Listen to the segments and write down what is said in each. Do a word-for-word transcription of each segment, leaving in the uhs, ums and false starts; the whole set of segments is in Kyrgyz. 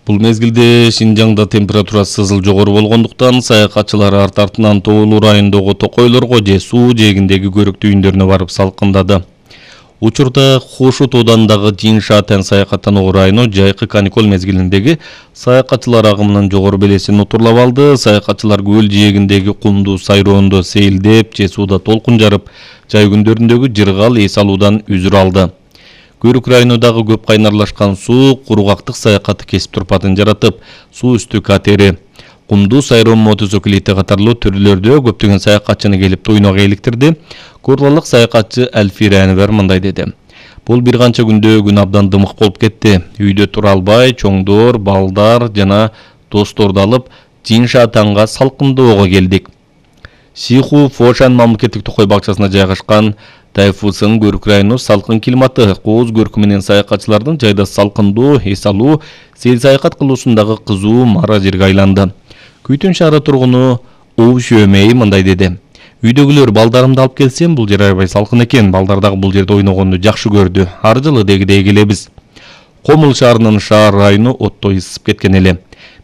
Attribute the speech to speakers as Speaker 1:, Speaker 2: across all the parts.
Speaker 1: Бул мезгилде Шинжаңда температурасы сызыл жогору болгондуктан саякатчылар арт артынан Тоолуу районундагы токойлорго же суу жээгиндеги көрүктүү үйүндөрүнө барып салкындады. Учурда Хошу тоодандагы Жин-Шатен саякаттануу району жайкы каникул мезгилиндеги саякатчылар агымынын жогору белесин утурлап алды. Саякатчылар көл жээгиндеги кумдуу сайроондо сейилдеп же сууда толкун жарып, жай күндөрүндөгү жыргал эс алуудан үзүр алды. Көрүк районундагы көп кайнарлашкан суу кургактык саякаты кесип турпатын жаратып, суу үстү катери, кумдуу сайроо мотоциклети катарлуу түрлөрдө көптөгөн саякатчыны келип туйнога эликтирди. Курлалык саякатчы Элфира Энвер мындай деди. Бул бир канча күндө күн абдан дымык болуп кетти. Үйдө тура албай, чоңдор, балдар жана досторду алып, Жин-Шатенга салкындоого келдик. Сиху Фошан мамлекеттик токой бакчасына жайгашкан Тайфусын көрүк району салкын климаты, кооз көркү менен саякатчылардын жайда салкындоо, эс алуу, сел саякат кылуусундагы кызуу мара жерге айланды. Күйтүн шаары тургуну Уу Шөмей мындай деди. Үйдөгүлөр балдарымды алып келсем, бул жер аябай салкын экен, балдар дагы бул жерде ойногонду жакшы көрдү. Ар жылы дегидей келебиз. Комул шаарынын шаар району оттой ысып кеткен эле.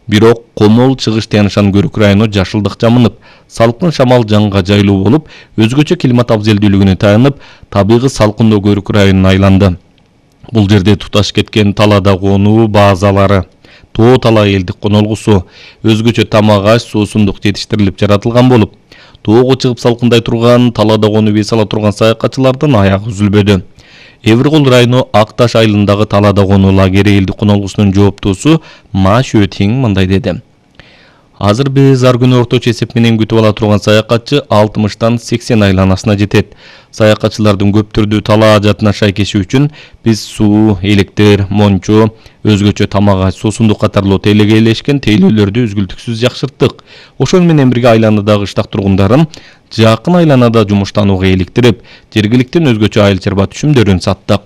Speaker 1: Бирок Комул чыгыш таянышан көрүк району жашылдык жамынып, салкын шамал жанга жайлуу болуп, өзгөчө климат абзелдүүлүгүнө таянып, табигый салкындоо көрүк районуна айланды. Бул жерде туташ кеткен талаада конуу базалары, тоо тала элдик конолгусу, өзгөчө тамак аш, суусундук жетиштирилип жаратылган болуп, тоого чыгып салкындай турган, талаада конуп эс ала турган саякатчылардын аягы үзүлбөдү. Эврикол району Ак Таш айылындагы талаада конуу лагери элдик конолгусунун жооптуусу Ма Шөтиң мындай деди. Азыр биз ар күнү орточо эсеп менен күтүп ала турган саякатчы алтымыштан сексен айланасына жетет. Саякатчылардын көптүрдүү талаа ажатына шайкеши үчүн биз суу, электр, мончо, өзгөчө тамак аш, суусундук катарлуу телегейлешкен тейлөөлөрдү үзгүлтүксүз жакшырттык. Ошол менен бирге айланадагы ыштак тургундарын жакын айланада жумуштанууга иликтирип, жергиликтен өзгөчө айыл чарба түшүмдөрүн саттык.